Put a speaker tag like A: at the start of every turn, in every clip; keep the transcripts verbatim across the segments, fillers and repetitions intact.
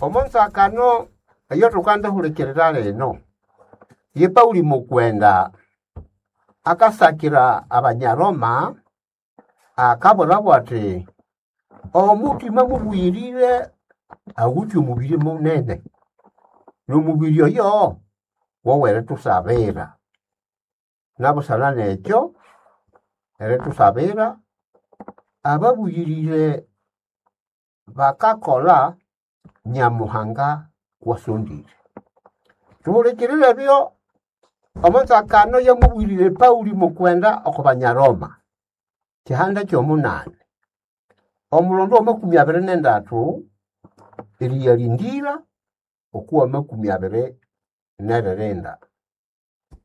A: Omo nzakano eyo thukandihulikirira lino, ye Pauli mukwenda akasakira Abanyaroma akabwirabo athi omuthima mubuyirire awithe omubiri munene, n'omubiri oyo wowerithusabira. Nabusana nekyo, erithusabira, ababuyirire bakakolha Nyamuhanga kwasondire. Thuhulikirire ebyo omo nzakano yamubwirire Pauli mukwenda oko Banyaroma, kihanda ky'omunani, omulondo w'amakumi abiri n'endathu eriyalindira okwa makumi abiri n'eririnda.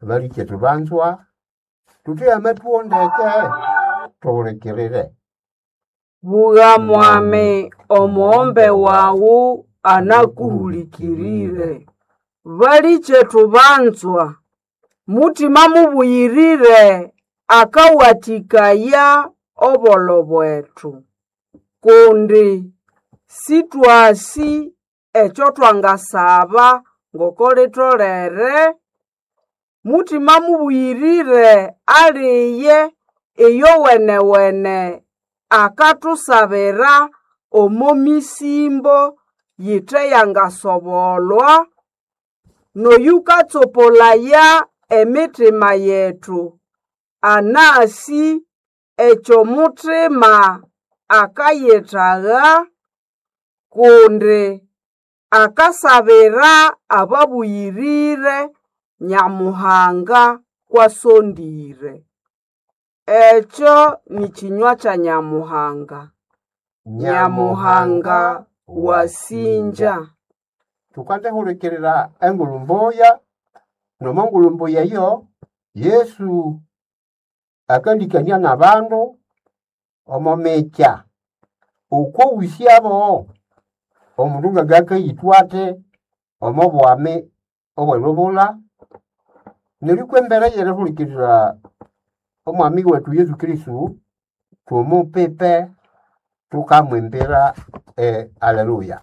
A: Balikyetu banzwa, thutheye amathuwo ndeke, thuhulikirire.
B: Bugha mwami omughombe wawu anakuhulikirire. Balikyetu banzwa, Mutima mubuyirire akawathikaya obolho bwethu, kundi sithwasi ekyo thwangasaba ngoko litholere. Mutima mubuyirire aliye iyowenewene akathusabira omo misimbo yithe yangasobolwa, n'oyukatsopolaya emitima yethu anasi ekyomuthima akayithagha, kundi akasabira ababuyirire Nyamuhanga kwasondire. Ekyo ni kinywa kya Nyamuhanga. Nyamuhanga wasinja.
A: Thukandihulikirira engulhu mbuya, nomo ngulhu mbuya eyo, Yesu akalikania n'abandu omo mikya okwowisyabo omundu ngangakayithwa athi omo bwami obw'elubulha. Neryo kw'embere y'erihulikirira omwami wethu Yesu Kristo, thumupipe thukamwimbira e Aleluya.